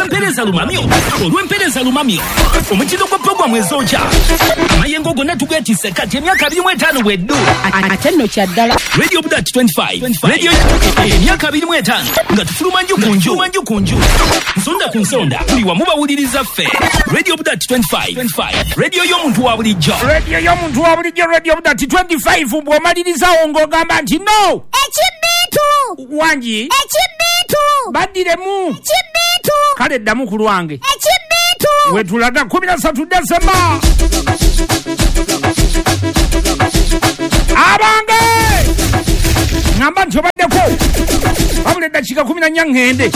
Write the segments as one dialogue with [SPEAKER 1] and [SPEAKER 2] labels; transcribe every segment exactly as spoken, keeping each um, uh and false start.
[SPEAKER 1] Olw'empeereza lumamyo, olw'empeereza lumamyo, omutindo gwa puroguramu ezookya, amayengo gonna tugeetisse kati emyaka abiri mu etaano bweddu.
[SPEAKER 2] Ate nno kya ddala.
[SPEAKER 1] Radio Budat twenty-five, Radio emyaka abiri mu etaano nga tufuluma nju ku nju, nju ku nju, nsonda ku nsonda, buli wamu bawuliriza ffe. Radio Budat twenty-five, radio y'omuntu wa bulijjo,
[SPEAKER 3] radio y'omuntu wa bulijjo, Radio Budat twenty-five. Bw'omalirizawo ng'ogamba nti no
[SPEAKER 4] ekibiitu
[SPEAKER 3] wangi
[SPEAKER 4] ekibiitu
[SPEAKER 3] baddiremu
[SPEAKER 4] ekibiitu
[SPEAKER 3] kale ddamu ku lwange
[SPEAKER 4] ekibiitu
[SPEAKER 3] wetulaga kumi na ssatu Desemba. Abange ngamba nti obaddeko wabula eddakiika kumi na nnya ŋŋende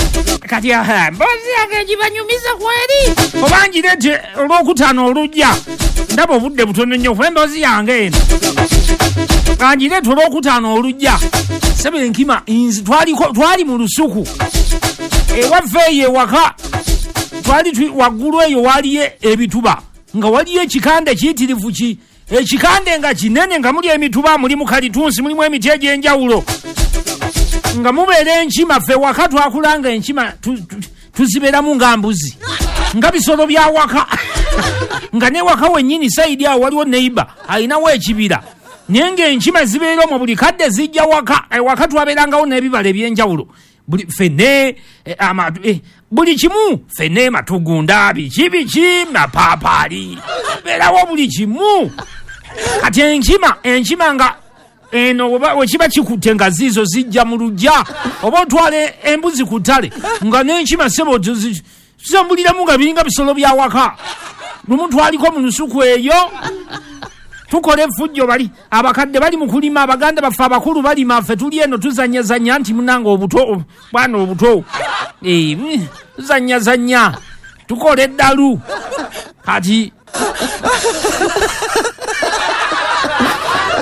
[SPEAKER 3] kati aha mboozi yange gibanyumiza kweri oba ngireete olwokutaano olujja ndaba obudde butono nnyo kuba emboozi yange eno kangireete olwokutaano olujja. Sebe enkima twali mu lusuku ewaffe eyo ewaka twali waggulu eyo waliyo ebituba nga waliyo ekikande kiyitirivu ki ekikande nga kinene nga muli emituba mulimu kalitunsi mulimu emiti egy'enjawulo nga mubeera enkima. Ffe waka twakulanga enkima tuzibeeramu nga mbuzi nga bisolo bya waka nga ne waka wennyini sayidi awo waliwo neighbor alinawo ekibira naye ng'enkima zibeera omwo buli kadde zijja waka. Ewaka twabeerangawo n'ebibala eby'enjawulo buli ffene buli kimu ffene matugunda biki biki mapaapaali beerawo buli kimu. Kati enkima enkima nga eno wekiba kikutte nga ziizo zijja mu luggya oba otwala embuzi ku ttale nga n'enkima ssebo zambuliramu nga biringa bisolo bya waka. Lumu twaliko mu lusuku eyo tukola effujjo bali abakadde bali mu kulima abaganda baffe abakulu balima ffe tuli eno tuzannyazannya nti munange obuto bwana obuto tuzannyazannya tukola eddalu. Kati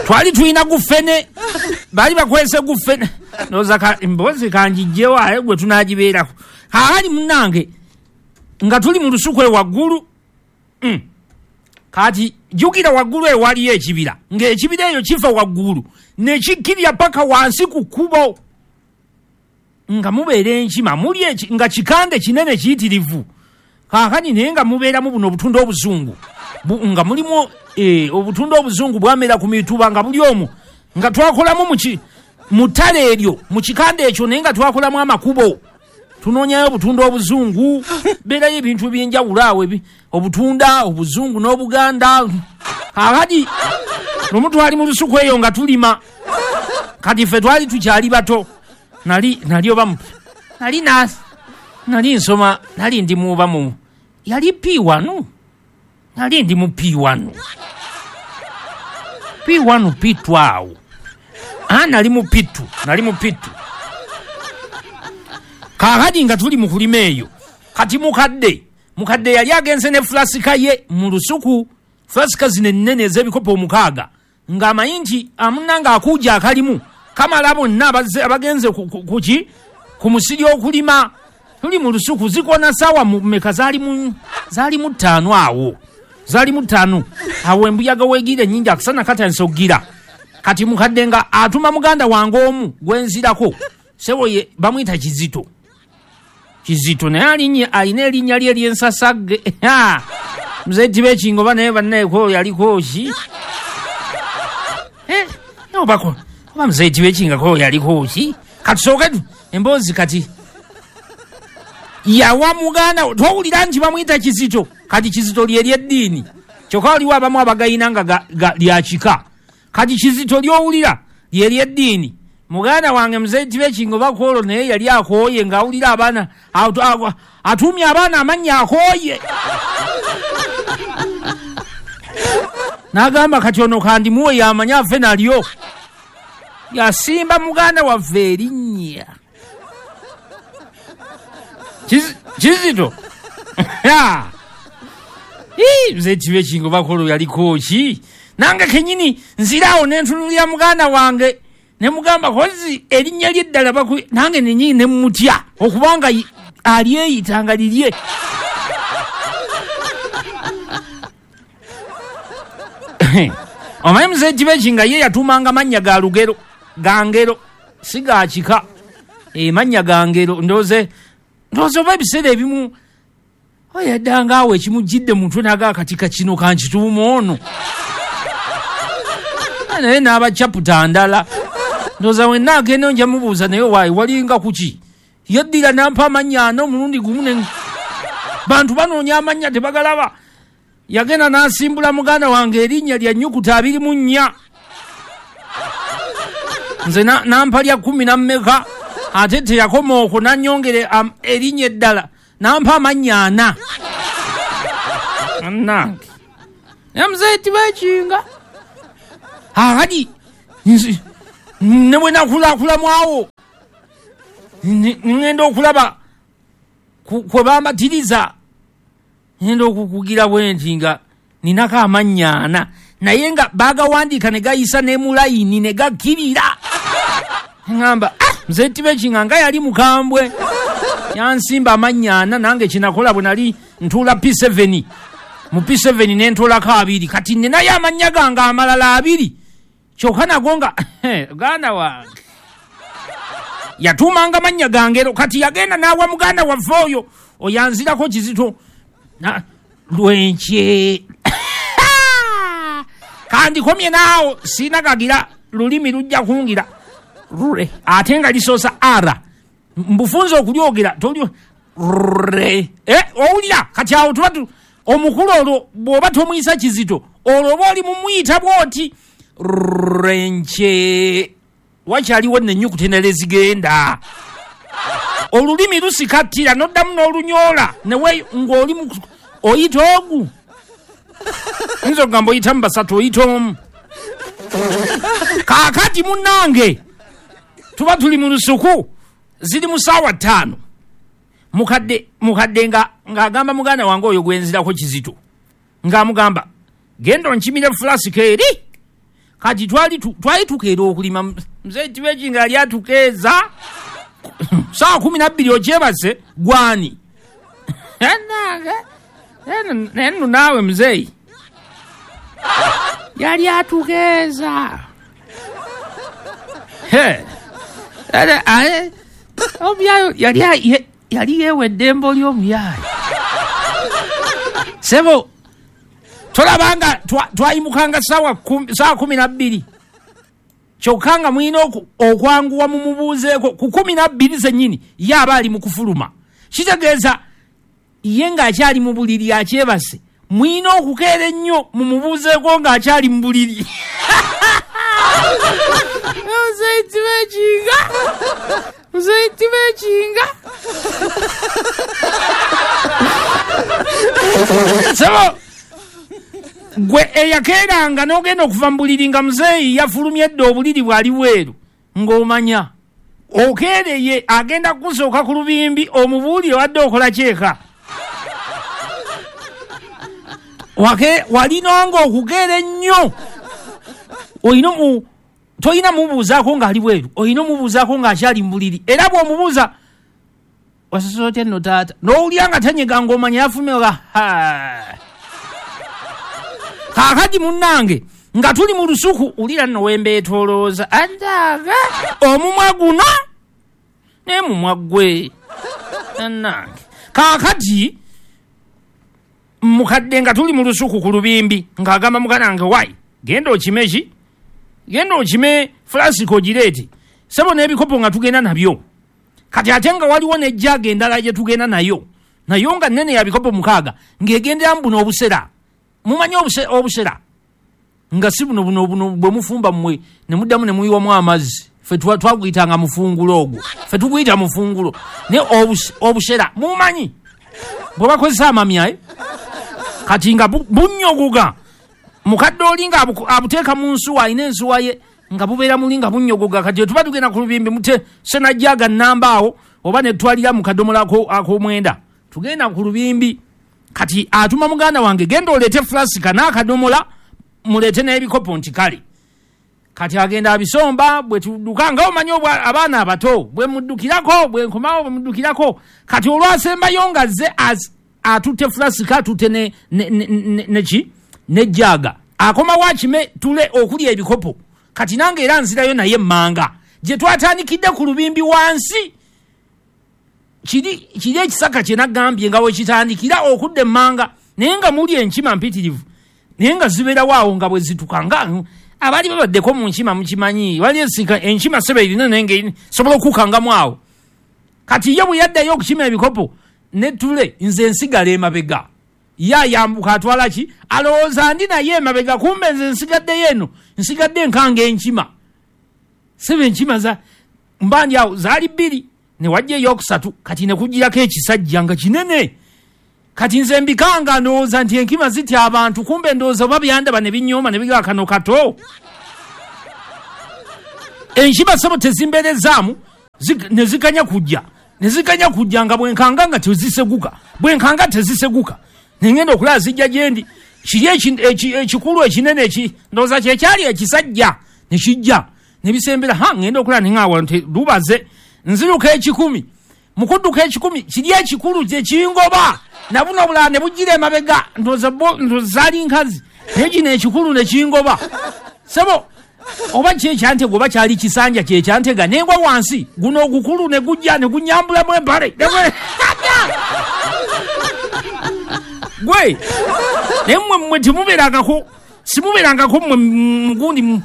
[SPEAKER 3] twali tulina gufene bali bakwese gufene ndowooza emboozi kangiggyewo aye gwe tunaagibeerako. Kaakati munnange nga tuli mu lusuku ewaggulu mm. Kati jjukira waggulu eyo waliyo ekibira ng'ekibira eyo kifa waggulu nekikkirya paka wansi ku kkubo nga mubeera enkima muli nga kikande kinene kiyitirivu. Kaakati naye nga mubeeramu buno obutunda obuzungu nga mulimu eh, obutunda obuzungu bwamera ku mituba nga buli omwo nga twakolamu mu ttale eryo mu kikande ekyo naye nga twakolamu amakubo tunoonyayo obutunda obuzungu beerayo ebintu ebyenjawulo awo obutunda obuzungu n'obuganda. Kaakati lumu twali mu lusuku eyo nga tulima kati ffe twali tukyali bato nali nali oba nali nali nsoma nali ndi muba mu yali P one nali ndi mu P one P one P two awo ah nali mu P two nali mu P two. Kaakati nga tuli mu kulima eyo kati mukadde mukadde yali agenze ne fulasika ye mu lusuku fulasika zino ennene ez'ebikopo omukaaga ng'amanyi nti amunnange akuuja akalimu kamala bonna abagenze kuki ku musiri okulima. Tuli mu lusuku zikona ssaawa mmeka zaali mu ttaano awo zaali mu ttaano awo embuyaga weegira ennyingi akasana katandise okugira. Kati mukadde nga atuma muganda wange omu gwenzirako ssebo ye bamuyita Kizito Kizito naye alinnya alina erinnya lye ery'ensasagge muzeeyi Tibekinga oba naye bannayeko yaliko ki obako oba muzeeyi Tibekingako yaliko ki. Katusooke emboozi kati yawa muganda twawulira nti bamuyita Kizito kati Kizito lye ery'eddiini kyokka waliwo abamu abagayina nga lya kika. Kati Kizito ly'owulira lye ery'eddiini. Muganda wange muzeeyi Tibekinga oba kwolwo naye yali akooye ng'awulira abaana atuumye abaana amannya akooye n'agamba kati ono kandimuwe yamanye afe nalyo. Yasimba muganda waffe erinnya Kizito muzeeyi Tibekinga oba kwolwo yaliko ki. Nange kennyini nziraawo ne ntunulira muganda wange ne mugamba kozi erinnya lye ddala nange nennyini ne mmutya okubanga alyeyitanga lirye. Omanyi muzeeyi Tibekinga ye yatuumanga mannya ga lugero ga ngero si ga kika mannya ga ngero. Ndowooza ndowooza oba ebiseera ebimu Oyaddanga awo ekimujjidde mutwe naga akatika kino kankituuma ono. Naye n'aba chaputa ndala. Ndowooza wenna agenda nja mubuuza naye waayi walinga kuki? Yaddira n'ampa amannya ana omulundi gumu ne bantu banoonya amannya tebagalaba. Yagenda n'asimbula muganda wange erinnya lya nnyukuta abiri mu nnya. Nze n'ampa lya kkumi na mmeka ate teyakoma okwo n'annyongera erinnya eddala n'ampa amannya ana. Annange. Naye muzeeyi tibeekinga. Akati ne bwe nakulakulamu awo ŋŋenda okulaba kwe bambatiriza ŋŋenda okukugira bwe nti nga ninako amannya ana naye nga baagawandiika ne gayisa ne mu layini ne gakkirira. Ŋŋamba muzeeyi Tibekinga nga yali mukambwe yansimba amannya ana nange kyenakola bwe nali ntuula P seven mu P seven ne ntuulako abiri kati ninayo amannya gange amalala abiri kyokka nago nga muganda wange yatuumanga mannya gange kati yagenda n'awa muganda waffe oyo oyanzirako kizito lwenkye kandikomye naawo siinagagira lulimi lujja kungira rure ate nga lisoosa ara mbufunze okulyogera toli rure eh, owulira kati awo tuba omukulu olwo bw'oba tomuyisa kizito olwo oba oli mumuyita bw'oti renche wakyaliwo nennyukuta endala ezigenda olulimi lusikattira n'oddamu n'olunyoola newe ng'oli oyita ogu oyinza okugamba oyitamu basatu oyita omu. Kaakati munnange tuba tuli mu lusuku ziri mu ssaawa ttaano mukadde mukadde nga ng'agamba muganda wange oyo gwenzirako kizito ng'amugamba genda onkimire fulasika eri. Kati twali twali tukeera okulima muzeeyi Tibekinga yali atukeeza ssaawa kumi na bbiri okyebase gwani naye nno naawe muzeeyi yali atukeeza omuyaayo yali yali yeewa eddembe ly'omuyaayo sebo tolabanga twayimukanga ssaawa kumi na bbiri kyokka nga mulina okwanguwa mumubuuzeeko ku kumi na bbiri zennyini ye aba ali mu kufuluma kitegeeza ye ng'akyali mu buliri akyebase mulina okukeera ennyo mumubuuzeeko ng'akyali mu buliri. Muzeeyi Tibekinga muzeeyi Tibekinga sebo gwe eyakeeranga n'ogenda okuva mu buliri nga muzeeyi yafulumye edda obuliri bwali bweru ng'omanya okeereye agenda kukusooka ku lubimbi omubuulire wadde okola kyeka. Walinanga okukeera ennyo olina tolina mubuuzaako ng'ali bweru olina omubuuzaako ng'akyali mu buliri era bw'omubuuza wasasula otya nno taata n'owulira nga tanyega ng'omanya yafulumye oga kaakati munnange nga tuli mu lusuku wulira nno wembeetoolooza andaga omumwa guno naye mumwa gwe annange. Kaakati mukadde nga tuli mu lusuku ku lubimbi ng'agamba muganda wange wayi genda okime ki genda okime fulasika ogireete sebo n'ebikopo nga tugenda nabyo kati ate nga waliwo n'ejjaaga endala gye tugenda nayo nayo nga nnene ya bikopo mukaaga ng'egenderamu buno obusera mumanyi obusera nga si buno buno buno bwe mufumba mmwe ne muddamu ne muyiwamu amazzi ffe twaguyitanga mufungulo ogwo ffe tuguyita mufungulo naye obusera mumanyi bwe bakozesa amamya kati nga bunnyogoga mukadde oli nga abuteeka mu nsuwa alina ensuwa ye nga bubeera muli nga bunnyogoga kati tuba tugenda ku lubimbi mute senajjaga nnamba awo oba ne tutwalira mu kadomola ak'omwenda tugenda ku lubimbi kati atuma muganda wange genda oleete fulasika n'akadomola muleete n'ebikopo nti kale kati agenda abisomba bwe tudduka nga omanyi abaana abato bwe muddukirako bwe nkomawo bwe muddukirako kati olwasembayo nga azze atutte fulasika atutte ne neki nejjaga akomawo akime tule okulya ebikopo kati nange era nzirayo naye emmanga gye twatandikidde ku lubimbi wansi kiri kiri ekisaka kye nagambye nga wekitandikira okudda emmanga, naye nga muli enkima mpitirivu, naye nga zibeerawo awo nga bwe zituka nga abaali babaddeko mu nkima mukimanyi, wali esika enkima sebe erina naye nga sobola okukangamu awo. Kati ye bwe yaddayo okukima ebikopo netule, nze nsigala emabega, ye ayambuka atwala ki, alowooza ndi naye emabega, kumbe nze nsigaddeyo eno, nsigadde nkanga enkima. Sebe enkima za mba ndi awo zaali bbiri, ne wajja eyokusatu, kati ne kugirako ekisajja nga kinene. Kati nze mbikanga ndowooza nti enkima zitya abantu, kumbe ndowooza oba byandaba ne binyooma ne bigaa kano kato. Enkima sebo tezimbeerezaamu, ne zikanya kujja, ne zikanya kujja nga bwenkanga nga teziseguka, bwenkanga teziseguka. Ne ngenda okulaba zijja gye ndi, kiri ekikulu ekinene eki ndowooza kye kyali ekisajja ne kijja ne bisembera, ha ngenda okulaba ne ŋŋaawa nti lubaze, nziruka ekikumi. Mu kudduka ekikumi kiri ekikulu kye kingoba, na buno obulala ne bujjira emabega, ndowooza bo ndowooza zaali nkazi, naye kino ekikulu ne kingoba. Sebo oba ki ekyantega oba kyali kisanja kye kyantega, ne ngwa wansi, guno ogukulu ne gujja ne gunyambulamu empale. Gwe naye mmwe mmwe temubeerangako, simubeerangako mmwe mugundi,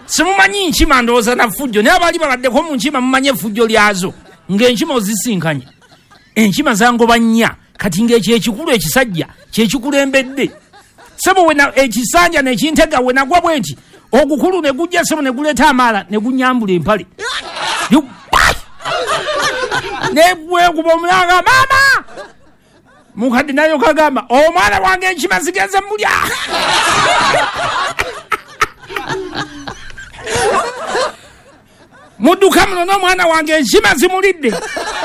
[SPEAKER 3] simumanyi nkima ndowooza na ffujjo, naye abaali babaddeko mu nkima mumanyi effujjo lyazo, ng'enkima ozisinkanye. Enkima zangoba nnya, kati ng'ekyo ekikulu ekisajja kye kikulembedde. Sebo we ekisanja ne kintega, we nagwa bwe nti ogukulu ne gujja sebo ne guleeta amaala ne gunyambula empale. Ne bwekuba omulanga, maama! Mukadde nayo kagamba, omwana wange enkima zigenze mulya. Mudduka muno n'omwana wange enkima zimulidde.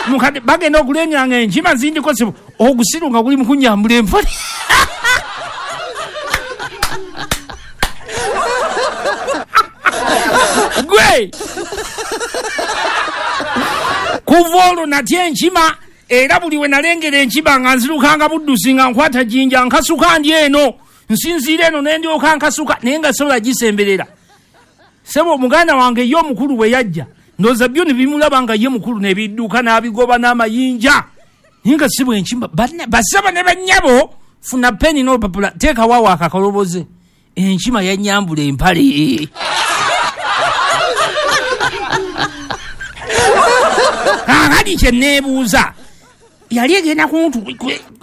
[SPEAKER 3] Mukadde bagenda okulengera nga enkima zindiko sebo, ogusiru nga guli mu kunyambula empale. Gwe kuva olwo natya enkima, era buli we nalengera enkima nga nzirukanga buddusi, nga nkwata jjinja nkasuka ndi eno, nsinziira eno ne ndyoka nkasuka, naye nga sobola gisemberera. Sebo muganda wange ye omukulu bwe yajja, ndowooza byo ne bimulaba nga ye mukulu ne bidduka n'abigoba n'amayinja, naye nga si bwe enkima. Basebo ne bannyabo, funa peni n'olupapula, teekawo awo akakoloboze. Enkima yannyambula empale. Kaakati kye neebuuza, yali egenda kuntu,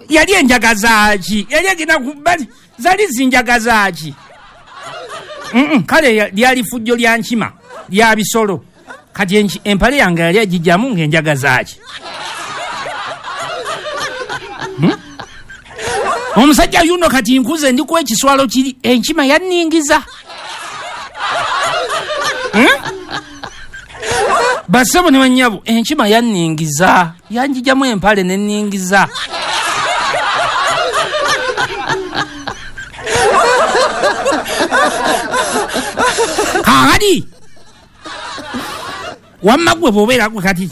[SPEAKER 3] yali enjagaza ki? Yali egenda ku, zaali zinjagaza ki? Mm-mm, kale lyali fujjo lya nkima, lya bisolo. Kati empale yange yali agijjamu ng'enjagaza ki? Hmm? Omusajja yuno kati nkuze ndiko ekiswalo kiri, enkima yanningiza. Hmm? Basebo ne bannyabo, enkima yanningiza, yanjijjamu empale ne nningiza. Kaakati wamma ggwe bw'obeera gwe kati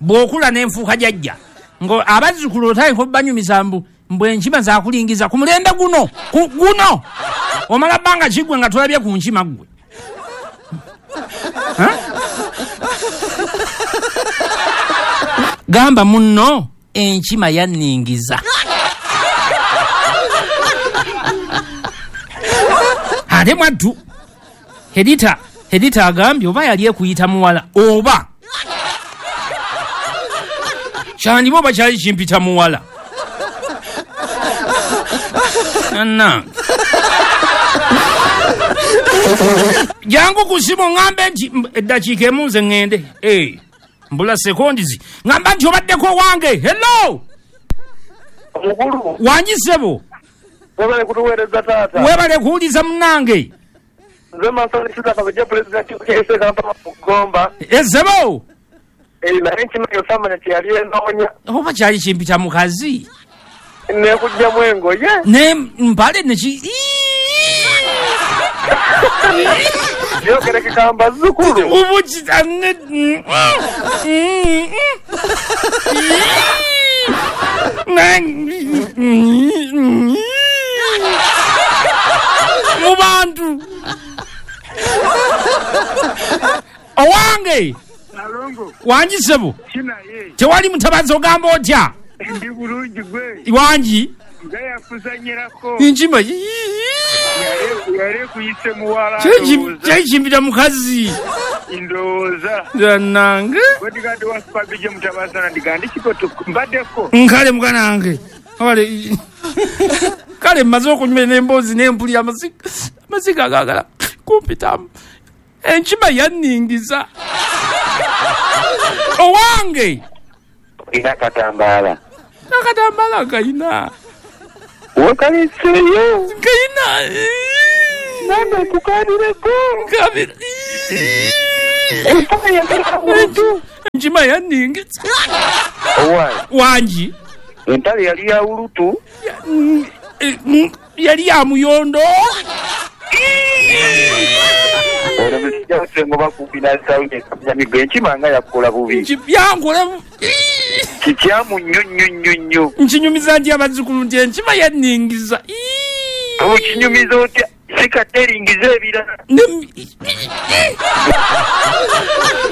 [SPEAKER 3] bw'okula n'enfuuka jjajja, ngo abazzukulu otandika obbanyumiza mbu mbu enkima zaakulingiza ku mulembe guno, ku guno omala bbanga ki ggwe nga tolabye ku nkima ggwe? Gamba munno enkima yanningiza. Ate mwattu Hedita, Hedita agambye oba yali ekuyita muwala oba kyandiba oba kyali kimpita muwala. Nannange jangu ku ssimu ŋŋambe nti eddakiika emu nze ŋŋende. Eh, mbula sekondizi. Ŋŋamba nti obaddeko wange. Hello!
[SPEAKER 2] Omukulu.
[SPEAKER 3] Wangi ssebo.
[SPEAKER 2] Webale kutuweereza taata.
[SPEAKER 3] Webale kuwuliza munnange.
[SPEAKER 2] Nze Mansoni Suda Kabejja, pulezidenti wa Kampala mu Gomba.
[SPEAKER 3] Ezebo.
[SPEAKER 2] Eh, naye enkima eyo saamanya kye yali enoonya.
[SPEAKER 3] Oba kyali kimpita mukazi.
[SPEAKER 2] N'ekugyamu engoye.
[SPEAKER 3] Ne mpale ne ki...
[SPEAKER 2] Byogerekeka mbazzukulu.
[SPEAKER 3] Ubuki ne mu bantu. Owange.
[SPEAKER 2] Nalongo.
[SPEAKER 3] Wangi ssebo.
[SPEAKER 2] Kinaye.
[SPEAKER 3] Tewali mutabazi, ogamba otya?
[SPEAKER 2] Ndi bulungi, gwe?
[SPEAKER 3] Wangi.
[SPEAKER 2] Nga yakuzanyirako.
[SPEAKER 3] Enkima
[SPEAKER 2] yali ekuyise muwala.
[SPEAKER 3] Kyekimbira mukazi.
[SPEAKER 2] Ndowooza.
[SPEAKER 3] Nange
[SPEAKER 2] bodyguard wa Super B J Mutabazana, ndigandi kikoto mbaddeko.
[SPEAKER 3] Nkale muganange, kale kale mmaze okunywa n'emboozi n'empulira amasiga amasiga agagala kumpitamu. Enkima yanningiza owange.
[SPEAKER 2] Ina katambaala.
[SPEAKER 3] Akatambaala kayina.
[SPEAKER 2] Wakaleseeyo.
[SPEAKER 3] Kayina.
[SPEAKER 2] Namba kukanireko.
[SPEAKER 3] Kabira. Enkima yanningiza.
[SPEAKER 2] Owange.
[SPEAKER 3] Wangi.
[SPEAKER 2] Entale yali ya ulutu.
[SPEAKER 3] Yali ya muyondo.
[SPEAKER 2] Ono musajja Sengo bakumpi n'asawunye kamyamigo, enkima nga yakukola bubi.
[SPEAKER 3] Yankola
[SPEAKER 2] kikyamu nnyo nnyo nnyo nnyo.
[SPEAKER 3] Nkinyumiza nti abazzukulu nti enkima yanningiza.
[SPEAKER 2] Okinyumiza otya? Sikadde eringiza ebirala.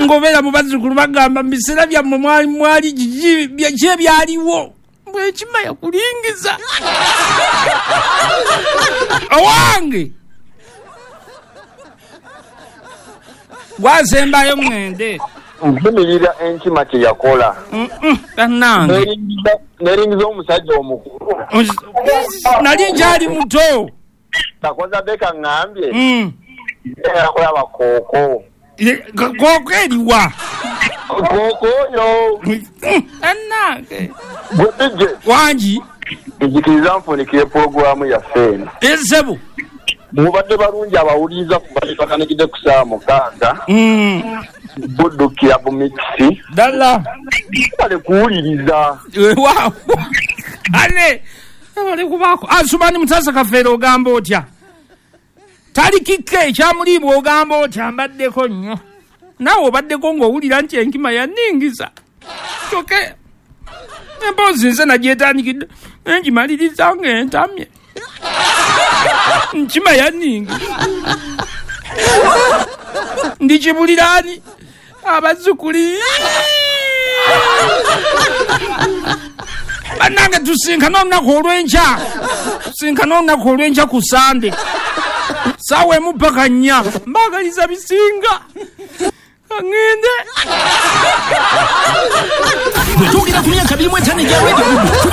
[SPEAKER 3] Ng'obeera mu bazzukulu bagamba mu biseera byammwe mwali mwali kiki ki ebyaliwo, mbwe enkima yakulingiza. Owange gwasembayo mwende.
[SPEAKER 5] Nvumirira enkima kye yakola.
[SPEAKER 3] Bannange
[SPEAKER 5] neringiza omusajja omukulu.
[SPEAKER 3] Nali nkyali muto.
[SPEAKER 5] Takoza beka ŋŋambye.
[SPEAKER 3] Mm.
[SPEAKER 5] Yakola kooko.
[SPEAKER 3] Kooko eriwa?
[SPEAKER 5] Kooko oyo.
[SPEAKER 3] Bannange.
[SPEAKER 5] Gwe B J.
[SPEAKER 3] Wangi.
[SPEAKER 5] Nzikiriza nfunikire pulogulaamu yaffe eno.
[SPEAKER 3] Esebo.
[SPEAKER 5] Mubadde balungi abawuliriza kuba tebakanikidde ku ssaawa mukaaga.
[SPEAKER 3] Mm.
[SPEAKER 5] Buddukira bu mikisi.
[SPEAKER 3] Ddala.
[SPEAKER 5] Bale kuwuliriza.
[SPEAKER 3] Weewaawo. Ane. Bale kubaako. Asumani Mutasa Kafeero ogamba otya? Talikike ekyamuliibwa ogamba otya? Mbaddeko nnyo. Naawe obaddeko ng'owulira nti enkima yanningiza. Kyokka emboozi nze nagyetandikidde nengimaliriza ng'entamye. Nkima yanningiza. Ndikibuliraani abazzukulu. Bannange tusinkane olunaku olw'enkya. Tusinkane olunaku olw'enkya ku Sande. Ssaawa emu paka nnya. Mbaagaliza bisinga. Kaŋŋende.
[SPEAKER 1] Bwe twogera ku myaka abiri mu etaano egya Radio Buddu, tuba